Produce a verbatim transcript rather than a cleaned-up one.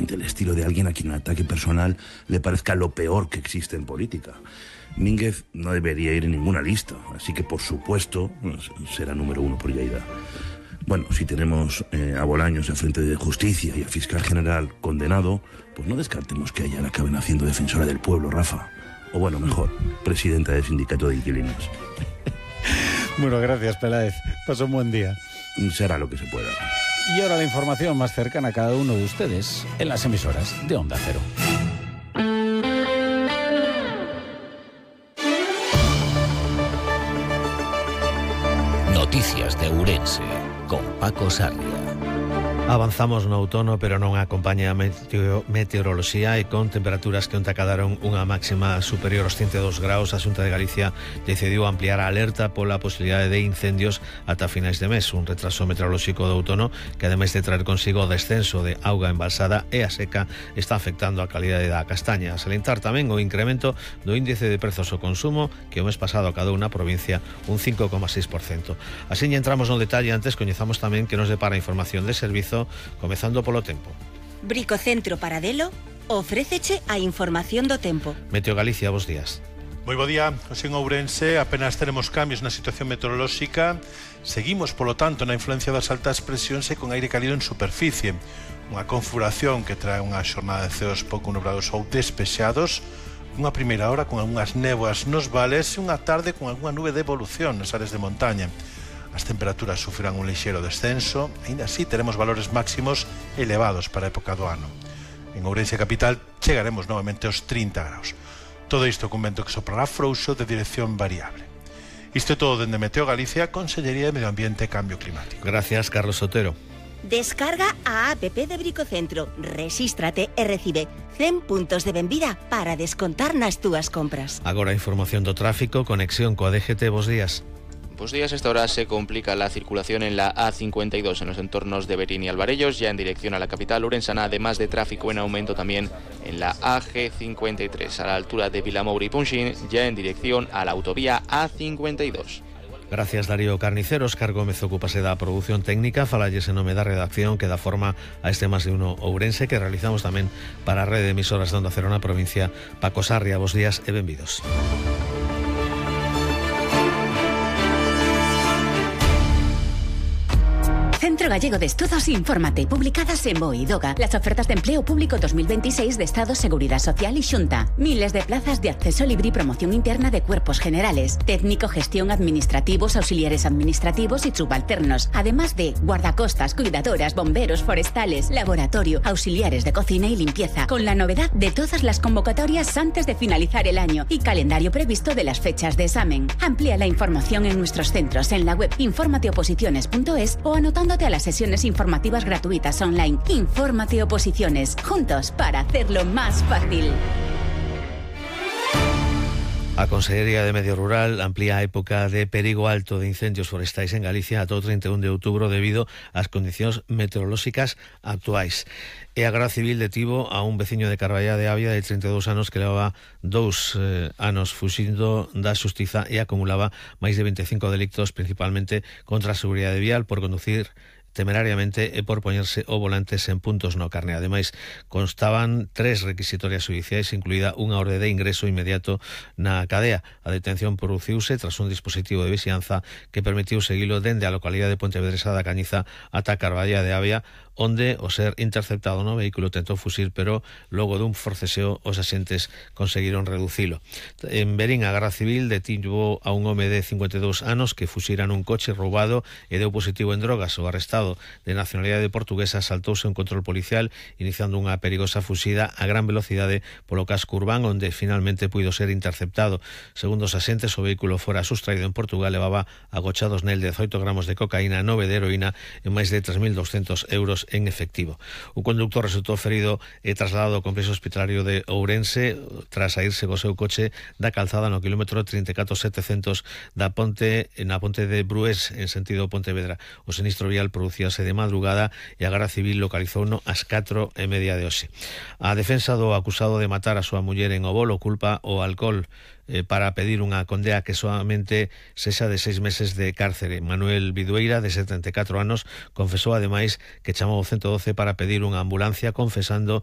exactamente el estilo de alguien a quien un ataque personal le parezca lo peor que existe en política. Mínguez no debería ir en ninguna lista, así que por supuesto será número uno por Lleida. Bueno, si tenemos eh, a Bolaños a frente de Justicia y al fiscal general condenado, pues no descartemos que ella la acaben haciendo defensora del pueblo, Rafa. O bueno, mejor, presidenta del sindicato de inquilinos. Bueno, gracias, Peláez. Pasó un buen día. Será lo que se pueda. Y ahora la información más cercana a cada uno de ustedes en las emisoras de Onda Cero. Noticias de Ourense con Paco Sarria. Avanzamos no outono, pero non acompaña a meteo, meteoroloxía e con temperaturas que onte acadaron unha máxima superior aos ciento dous graus. A Xunta de Galicia decidiu ampliar a alerta pola posibilidade de incendios ata finais de mes, un retraso meteorolóxico do outono que, ademais de traer consigo o descenso de auga embalsada e a seca, está afectando a calidade da castaña. A salientar tamén o incremento do índice de prezos ao consumo, que o mes pasado acadou na provincia un cinco coma seis por cento. Así entramos no detalle, antes coñezamos tamén que nos depara información de servizo, comezando polo tempo. Bricocentro Paradelo ofréceche a información do tempo. Meteo Galicia, bos días. Moi bo día. Hoxe en Ourense apenas tenemos cambios na situación meteorolóxica. Seguimos, polo tanto, na influencia das altas presións e con aire cálido en superficie. Unha configuración que trae unha xornada de ceos pouco nubrados ou despexados, unha primeira hora con algunhas néboas nos vales e unha tarde con algunha nube de evolución nas áreas de montaña. As temperaturas sufrirán un lixeiro descenso, aínda así teremos valores máximos elevados para a época do ano. En Ourense capital chegaremos novamente aos trinta graus. Todo isto con vento que soprará frouxo de dirección variable. Isto é todo dende Meteo Galicia, Consellería de Medio Ambiente e Cambio Climático. Gracias, Carlos Sotero. Descarga a app de Bricocentro, rexístrate e recibe cen puntos de benvida para descontar nas túas compras. Agora información do tráfico, conexión coa D G T, bos días. Buenos días, esta hora se complica la circulación en la A cincuenta y dos en los entornos de Berín y Alvarellos, ya en dirección a la capital urensana, además de tráfico en aumento también en la A G cincuenta y tres, a la altura de Vilamoura y Punxín, ya en dirección a la autovía A cincuenta y dos. Gracias, Darío Carnicero. Óscar Gómez ocúpase da produción técnica, falalles en nome da redacción que dá forma a este Más de Uno Ourense, que realizamos tamén para a rede de emisoras de Onda Cero na provincia. Paco Sarria, bos días e benvidos. Centro Gallego de Estudos Infórmate, publicadas en BOE y DOGA. Las ofertas de empleo público dos mil veintiséis de Estado, Seguridad Social y Xunta. Miles de plazas de acceso libre y promoción interna de cuerpos generales. Técnico, gestión, administrativos, auxiliares administrativos y subalternos. Además de guardacostas, cuidadoras, bomberos, forestales, laboratorio, auxiliares de cocina y limpieza. Con la novedad de todas las convocatorias antes de finalizar el año y calendario previsto de las fechas de examen. Amplía la información en nuestros centros en la web informateoposiciones punto es o anotando a las sesiones informativas gratuitas online. Infórmate Oposiciones, juntos para hacerlo más fácil. A Consellería de Medio Rural amplía a época de perigo alto de incendios forestais en Galicia ata o trinta e un de outubro debido ás condicións meteorolóxicas actuais. E a Garda Civil detivo a un veciño de Carballá de Avia de trinta e dous anos que levaba dous eh, anos fuxindo da xustiza e acumulaba máis de vinte e cinco delictos, principalmente contra a seguridade vial por conducir temerariamente e por poñerse o volante sen puntos no carné. Ademais, constaban tres requisitorias judiciais, incluída unha orde de ingreso inmediato na cadea. A detención produciuse tras un dispositivo de vixianza que permitiu seguilo dende a localidade de Pontevedresa da Cañiza ata Carballá de Avia, onde, ao ser interceptado no vehículo, tentou fuxir, pero logo dun forceseo os axentes conseguiron reducilo. En Berín, a Garda Civil detivo a un home de cincuenta e dous anos que fuxira nun coche roubado e deu positivo en drogas. O arrestado, de nacionalidade portuguesa, saltouse un control policial iniciando unha perigosa fuxida a gran velocidade polo casco urbán, onde finalmente puido ser interceptado. Segundo os axentes, o vehículo fora sustraído en Portugal, levaba agochados nel dezoito gramos de cocaína, nove de heroína e máis de tres mil doscientos euros en efectivo. O conductor resultou ferido e trasladado ao complexo hospitalario de Ourense tras saírse co seu coche da calzada no kilómetro trinta e catro setecentos da ponte na ponte de Brués en sentido Pontevedra. O sinistro vial producíase de madrugada e a Garda Civil localizouno ás catro e media de hoxe. A defensa do acusado de matar a súa muller en Obolo culpa o alcohol eh, para pedir unha condea que solamente sexa de seis meses de cárcere. Manuel Vidueira, de setenta e catro anos, confesou ademais que chamou ao ciento doce para pedir unha ambulancia, confesando